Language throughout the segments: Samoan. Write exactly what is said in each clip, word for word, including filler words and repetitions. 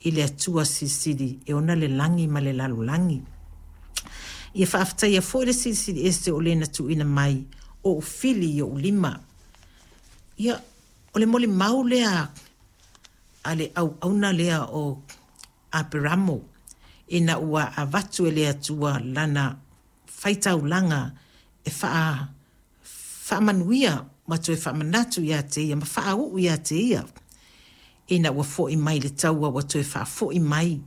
i le Atua Silisili e ona le lagi ma le lalolagi. Ia faafetaia foi le Silisili Ese o le na tuuina mai ou fili i ou lima. Ia, o le molimau lea a le auauna lea o Aperamo ina ua avatu e le Atua lana faitaulaga e faa, faamanuia ma toe faamanatu ia te ia ma faauu ia te ia ina ua fo'i mai le taua ua toe faafoi mai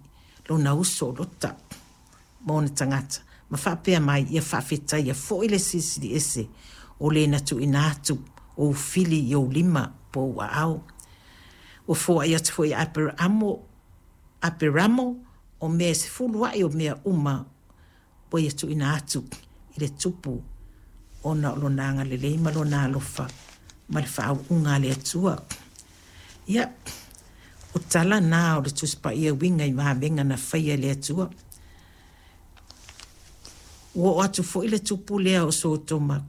lona uso o Lota ma ona tagata ma faapea mai ia faafetaia foi le Silisili Ese o le na tuuina atu ou fili i ou lima po o ou aao. Ua foai atu foi ia Aperamo, Aperamo o mea e sefulu a'i o mea uma ua ia tuuina atu i le tupu ona o lona agalelei ma lona alofa ma le faauuga a le Atua. Ia, o tala na o le Tusi Paia e uiga i vavega na faia e le Atua. Ua oo atu foi le tupu lea o Sotoma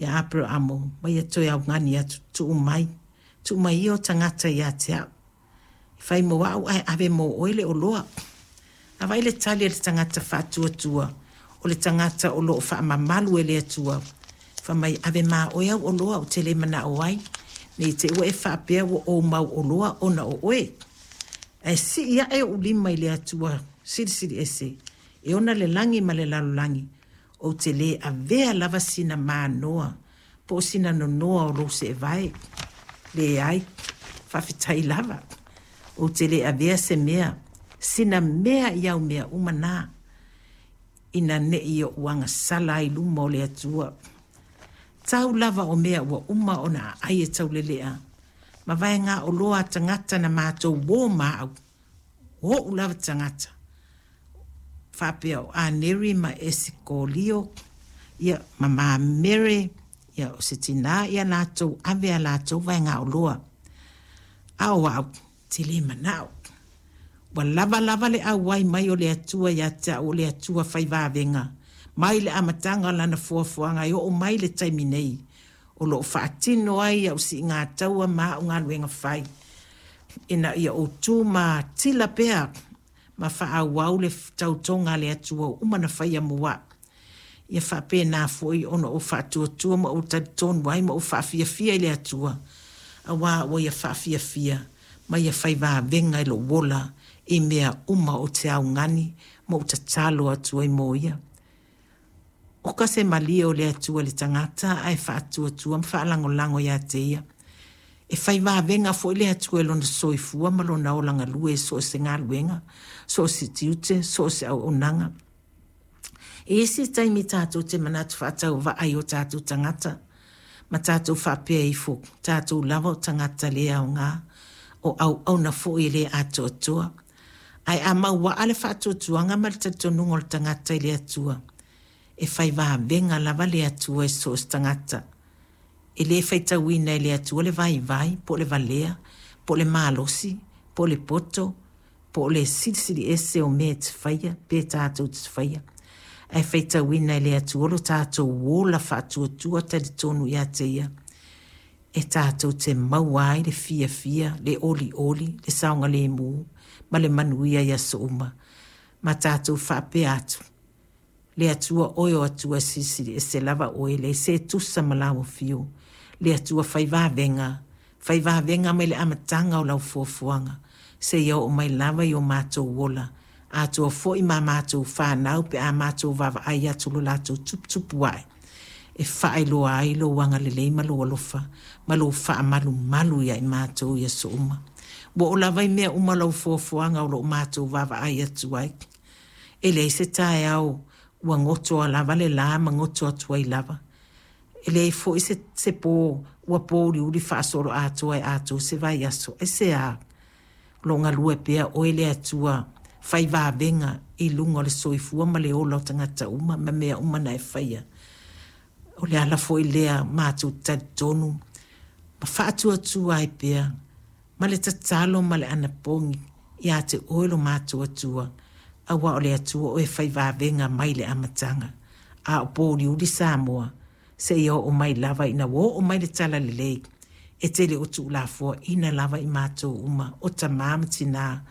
ia Aperamo ma ia toe augani atu, tuu mai, tuu mai ia o tagata ia te au. Fai mo au ae ave mo oe le oloa. A vaai le tali a le tagata faatuatua, o le tagata o lo o faamamalu e le Atua. Fai mai, ave ma oe au oloa ou te le manao ai, ne i te i ua e faapea ua ou mau oloa ona o oe. Ae sii ae ou lima i le Atua Silisili Ese, e ona le lagi ma le lalolagi, ou te le avea lava sina manoa po o sina nonoa o lou seevae. Leai, faafetai lava. Ou te le avea se mea, sina mea i au mea uma na, ina ne i ou agasala ai i luma o le Atua. Tau lava o mea ua uma ona aai e taulelea, ma vaega oloa a tagata na matou uo ma au, o o'u lava tagata, faapea o Aneri ma Esikolio, ia, ma Mamere, ia, o se tinā ia latou ave a latou vaegaoloa. A o au, te le manao. Ua lava lava le auai mai o le Atua ia te au o le Atua fai vavega, mai le amataga o lana foafoaga e oo mai le taimi nei, o lo o faatino ai au siiga taua ma au galuega fai, ina ia ou tu matila pea ma faaauau le tautoga a le Atua ua uma ona faia mo a'u. Ia faapena foi ona ou faatuatua ma ou talitonu ai ma ou faafiafia i le Atua, auā ua ia faafiafia ma ia fai vavega i lou ola i mea uma ou te augani ma ou tatalo atu ai mo ia. Oka se malie o le Atua i le tagata ae faatuatua ma faalagolago ia te ia. E fai vavega foi le Atua i lona soifua ma lona ola galue i so o se galuega, so o se tiute, so o se auaunaga. I isi taimi tatou te manatu faatauvaa i o tatou tagata, ma tatou faapea ifo, tatou lava o tagata le aoga, o auauna foi e le atoatoa. Ae a mauaa le faatuatuaga ma le talitonuga o le tagata i le Atua, e fai vavega lava le Atua i so o se tagata. E le faitauina e le Atua le vaivai, po o le valea, po o le malosi, po o le poto, po o le silisili ese o mea e te faia, pe tatou te faia. Ae faitauina e le Atua lo tatou ola faatuatua talitonu ia te ia, e tatou te maua ai le fiafia, le olioli, le saogalemu ma le manuia i aso uma. Ma tatou faapea atu, le Atua oe o Atua Silisili Ese lava oe, leai se tusa ma lau afio. Le Atua fai vavega, fai vavega mai le amataga o lau foafoaga, seia oo mai lava i o matou ola, atoa foi ma matou fanau pe a matou vaavaai atu lo latou tuputupu ae, e faailoa ai lou agalelei ma lou alofa ma lou faamalumalu ia i matou i aso uma. Ua oo lava i mea uma lau foafoaga o lo o matou vaavaai atu ai. E leai se taeao ua gotoa lava le la ma goto atu ai lava. E leai foi se, se pō ua pōuliuli faasoloatoa e atoa se vaiaso. Aisea? O lo o galue pea oe le Atua fai vavega i luga o le soifua ma le ola o tagata uma ma mea uma na e faia. O le ala foi lea matou talitonu ma faatuatua ai pea ma le tatalo ma le anapogi ia te oe lo matou Atua, auā o le Atua oe e fai vavega mai le amataga, a o pōuliuli Samoa seia oo mai lava ina ua oo mai le talalelei e te le o tuulafoaina lava i matou uma o tamā ma tinā.